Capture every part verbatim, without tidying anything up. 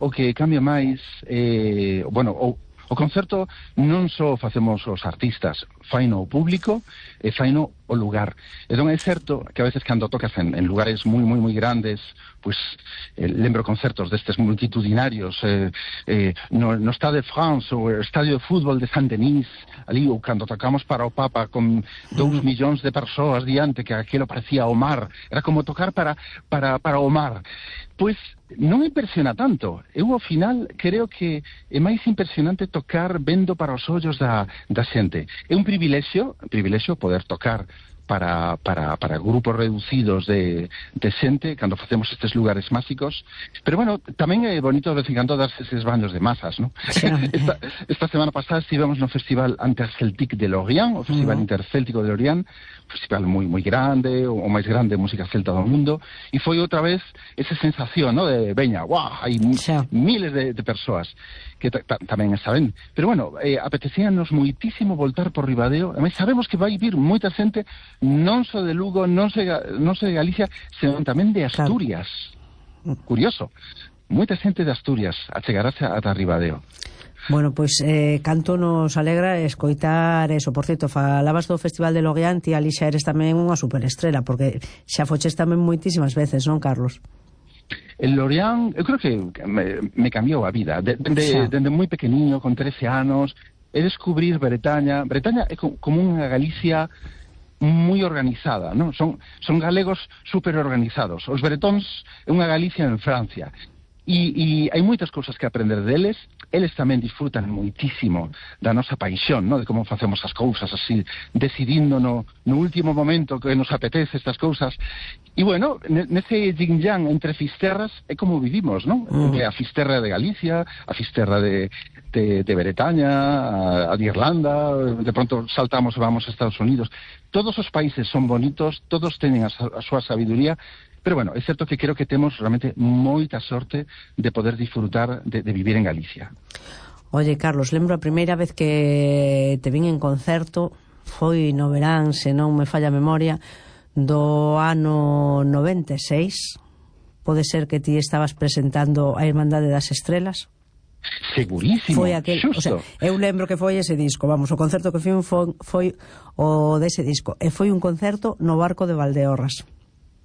o que cambia máis, eh, bueno, o O concerto non só facemos os artistas, faino o público e faino o lugar. Entón é certo que a veces cando tocas en, en lugares moi, moi, moi grandes, pois eh, lembro concertos destes multitudinarios eh, eh, no, no Stade de France ou o Estadio de Fútbol de Saint-Denis, ali, ou cando tocamos para o Papa con dous millóns de persoas diante, que aquilo parecía o mar, era como tocar para, para, para o mar. Pois non impresiona tanto. Eu ao final creo que é máis impresionante tocar vendo para os ollos da, da xente. É un privilexio, un privilexio poder tocar para, para, para grupos reducidos de, de xente cando facemos estes lugares máxicos, pero bueno, tamén é bonito de vez en cando darse eses baños de masas, ¿no? Sí. esta, esta semana pasada estivemos no Festival Interceltique de Lorient, o Festival uh-huh. Intercéltico de Lorient, festival moi moi grande, o, o máis grande de música celta do mundo, e foi outra vez esa sensación, ¿no? De veña, guau, hai sí. miles de, de persoas que tamén está ben. Pero bueno, eh, apetecíanos moitísimo voltar por Ribadeo, e sabemos que vai vir moita xente non só de Lugo, non só, non só de Galicia, senón tamén de Asturias. Claro. Curioso. Moita xente de Asturias achegarase ata Ribadeo. Bueno, pois eh, canto nos alegra escoitar eso. Por certo, falabas do Festival de Lorient e ali xa eres tamén unha superestrela, porque xa foches tamén moitísimas veces, non, Carlos? El Lorient, eu creo que me, me cambiou a vida. Dende de, de, de moi pequeniño, con trece anos, é descubrir Bretaña. Bretaña é como unha Galicia moi organizada, non? Son, son galegos super organizados. Os bretóns é unha Galicia en Francia. E, e hai moitas cousas que aprender deles. Eles tamén disfrutan moitísimo da nosa paixón, ¿no? De como facemos as cousas, así, decidindo no, no último momento que nos apetece estas cousas. E, bueno, nese yin-yang entre fisterras é como vivimos, ¿no? Mm. A fisterra de Galicia, a fisterra de, de, de Bretaña, a, a de Irlanda, de pronto saltamos e vamos a Estados Unidos. Todos os países son bonitos, todos teñen a, a súa sabiduría. Pero bueno, é certo que creo que temos realmente moita sorte de poder disfrutar de, de vivir en Galicia. Oye, Carlos, lembro a primeira vez que te vin en concerto, foi no verán, se non me falla a memoria, do ano noventa e seis. Pode ser que ti estabas presentando a Irmandade das Estrelas? Segurísimo, foi aquel, xusto. O sea, eu lembro que foi ese disco, vamos, o concerto que foi, foi, foi o dese disco, e foi un concerto no Barco de Valdeorras.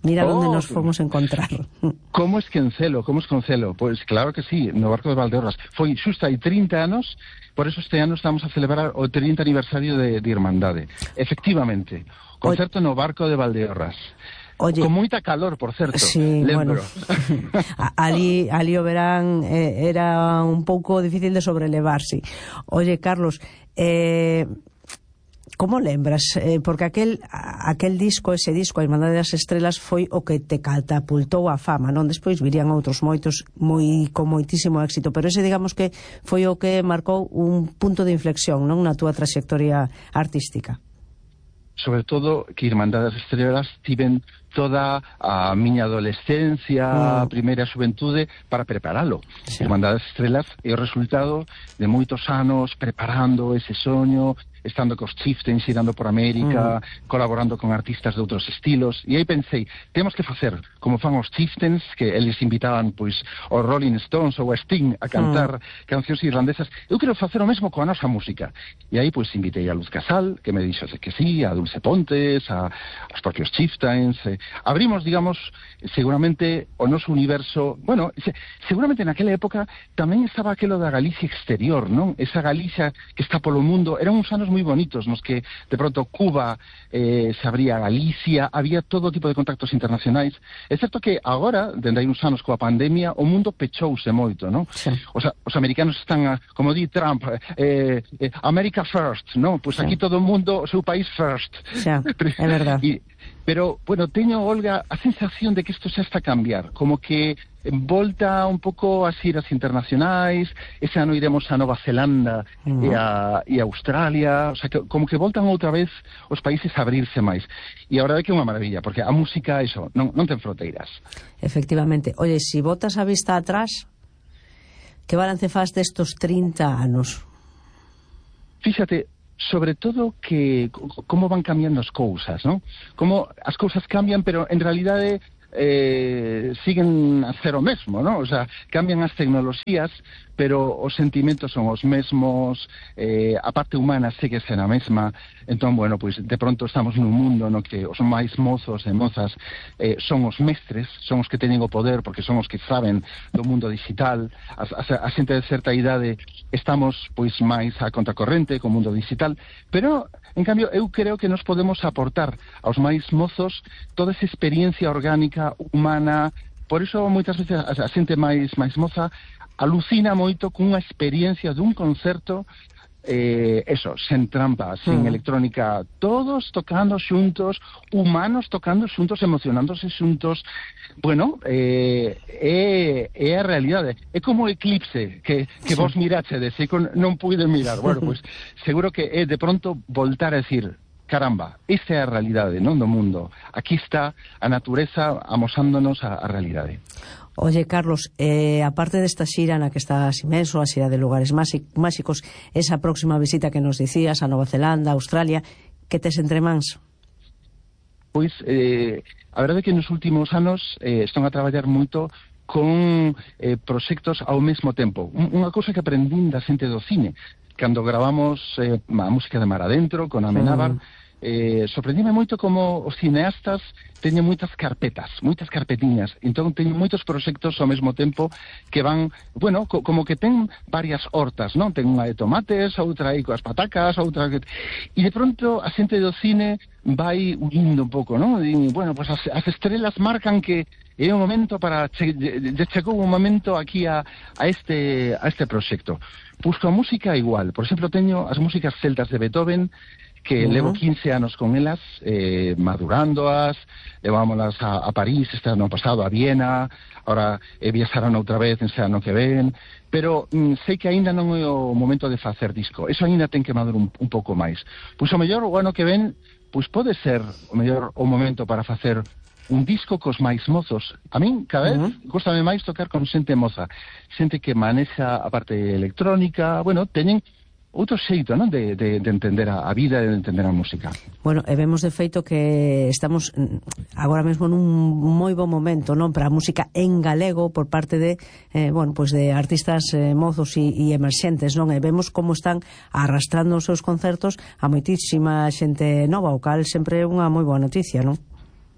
Mira oh, onde nos fomos encontrar. Como esquencelo, como esquencelo? Pois pues claro que sí, no Barco de Valdeorras. Foi xusto hai trinta anos, por eso este ano estamos a celebrar o trinta aniversario de, de Irmandade. Efectivamente, concerto Oye. no Barco de Valdeorras. Oye, con moita calor, por certo. Sí, lembro. Bueno. ali, ali o verán eh, era un pouco difícil de sobrelevarse. Oye, Carlos, eh... como lembras? Eh, porque aquel, aquel disco, ese disco, a Irmandade das Estrelas, foi o que te catapultou a fama, non? Despois virían outros moitos moi, con moitísimo éxito, pero ese, digamos que foi o que marcou un punto de inflexión, non? Na túa trayectoria artística. Sobre todo que Irmandade das Estrelas tiven toda a miña adolescencia, a primeira xuventude para preparalo. Sí. Irmandade das Estrelas é o resultado de moitos anos preparando ese soño, estando cos Chieftains, irando por América, mm. colaborando con artistas de outros estilos, e aí pensei, temos que facer como fan os Chieftains, que eles invitaban pois os Rolling Stones ou a Sting a cantar mm. cancións irlandesas. Eu quero facer o mesmo coa nosa música. E aí pois invitei a Luz Casal, que me dixo que sí, a Dulce Pontes, a os propios Chieftains. Eh, abrimos, digamos, seguramente o noso universo. Bueno, se, seguramente naquela época tamén estaba aquelo da Galicia exterior, non? Esa Galicia que está polo mundo. Eran uns anos moi bonitos nos que de pronto Cuba eh, se abría a Galicia, había todo tipo de contactos internacionais. É certo que agora, dende hai uns anos coa pandemia, o mundo pechouse moito, non? Sí. Os, os americanos están, a, como di Trump, eh, eh, America first, non? Pois pues sí. Aquí todo o mundo, o seu país first. Sí, é verdad. E, pero, bueno, teño, Olga, a sensación de que isto xa está a cambiar, como que volta un pouco as iras internacionais. Ese ano iremos a Nova Zelanda uh-huh. e, a, e a Australia, o sea, que, como que voltan outra vez os países a abrirse máis. E a verdade é que é unha maravilla, porque a música, eso, non, non ten fronteiras. Efectivamente. Oye, si botas a vista atrás, que balance faz destos trinta anos? Fíxate, sobre todo que como van cambiando as cousas, non? Como as cousas cambian, pero en realidade eh, siguen a ser o mesmo, ¿no? O sea, cambian as tecnoloxías, pero os sentimentos son os mesmos, eh, a parte humana segue ser a mesma. Entón, bueno, pois de pronto estamos nun mundo no que os máis mozos e mozas eh, son os mestres, son os que teñen o poder porque son os que saben do mundo digital. A, a, a xente de certa idade estamos pois máis a contracorrente co mundo digital, pero en cambio eu creo que nos podemos aportar aos máis mozos toda esa experiencia orgánica, humana. Por iso moitas veces a, a xente máis máis moza alucina moito cunha experiencia dun concerto, eh, eso, sen trampa, sin mm. electrónica, todos tocando xuntos, humanos tocando xuntos, emocionándose xuntos. Bueno, eh, é, é a realidade. É como o eclipse que, que sí. vos mirachedes e non puiden mirar. Bueno, pois pues, seguro que é de pronto voltar a decir, caramba, esta é a realidade, non, do mundo. Aquí está a natureza amosándonos a, a realidade. Oye, Carlos, eh, aparte desta xira na que estás inmenso, a xira de lugares máxicos, esa próxima visita que nos dicías a Nova Zelanda, a Australia, que tes entre mans? Pois, eh, a verdade é que nos últimos anos eh, están a traballar moito con eh, proxectos ao mesmo tempo. Unha cousa que aprendín da xente do cine, cando gravamos eh, a música de Mar Adentro, con Amenábar, mm. Eh, sorprendíme moito como os cineastas teñen moitas carpetas, moitas carpetiñas, entón teñen moitos proxectos ao mesmo tempo que van, bueno, co como que ten varias hortas, non? Ten unha de tomates, outra aí coas patacas, outra que... E de pronto a xente do cine vai unindo un pouco, non? E, bueno, pues as, as estrelas marcan que é o momento para... Che, chegou un momento aquí a, a este a este proxecto. Pois coa música igual, por exemplo, teño as músicas celtas de Beethoven, que uh -huh. levo quince anos con elas, eh, madurándoas, levámolas a, a París este ano pasado, a Viena, ahora eh, viaxaron outra vez en ano que ven, pero mm, sei que aínda non é o momento de facer disco, eso aínda ten que madurar un, un pouco máis. Pois o mellor o ano que ven, pois pode ser o mellor o momento para facer un disco cos máis mozos. A min, cada vez, uh -huh. gostame máis tocar con xente moza, xente que manexa a parte electrónica, bueno, teñen outro xeito, non, de, de, de entender a, a vida e de entender a música. Bueno, e vemos de feito que estamos agora mesmo nun moi bo momento, non, para a música en galego por parte de, eh, bueno, pois de artistas eh, mozos e, e emerxentes, non? E vemos como están arrastrando os seus concertos a moitísima xente nova, o cal sempre é unha moi boa noticia, non?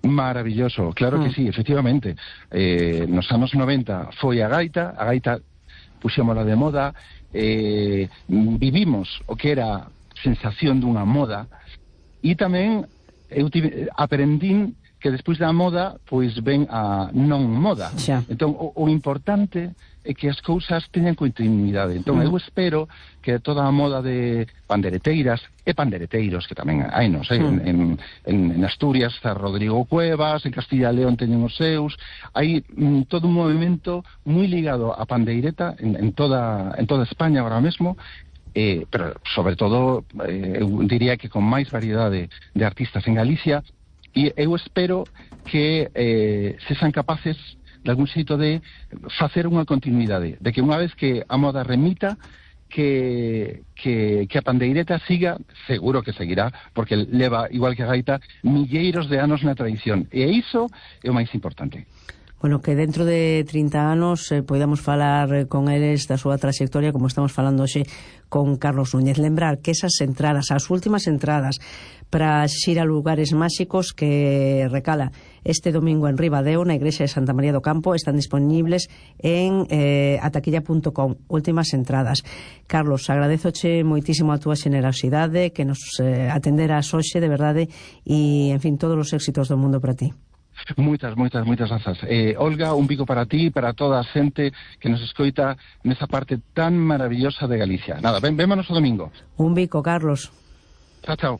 Maravilloso, claro mm. que sí, efectivamente. Eh, nos anos noventa foi a gaita, a gaita puxémola de moda, eh, vivimos o que era sensación dunha moda, e tamén eu aprendín que despois da moda pois ven a non moda. Xa. Entón o, o importante é que as cousas teñan continuidade. Entón mm. eu espero que toda a moda de pandereteiras e pandereteiros, que tamén hai, non sei, mm. en, en, en Asturias está Rodrigo Cuevas, en Castilla e León teñen os seus, hai mm, todo un movimento moi ligado á pandeireta en, en, toda, en toda España ahora mesmo, eh, pero sobre todo eh, eu diría que con máis variedade de artistas en Galicia, e eu espero que eh, se sean capaces de algún xeito de facer unha continuidade, de que unha vez que a moda remita, que, que, que a pandeireta siga, seguro que seguirá, porque leva, igual que a gaita, milleiros de anos na tradición, e iso é o máis importante. Bueno, que dentro de trinta anos eh, podamos falar con eles da súa trayectoria, como estamos falando hoxe con Carlos Núñez. Lembrar que esas entradas, as últimas entradas para xira lugares máxicos que recala este domingo en Ribadeo, na igrexa de Santa María do Campo, están disponibles en eh, ataquilla punto com, últimas entradas. Carlos, agradezoche moitísimo a túa xenerosidade, que nos eh, atenderas hoxe, de verdade, e, en fin, todos os éxitos do mundo para ti. Moitas, moitas, moitas grazas. Eh, Olga, un bico para ti e para toda a xente que nos escoita nesa parte tan maravillosa de Galicia. Nada, ven, vémonos o domingo. Un bico, Carlos. Chao, chao.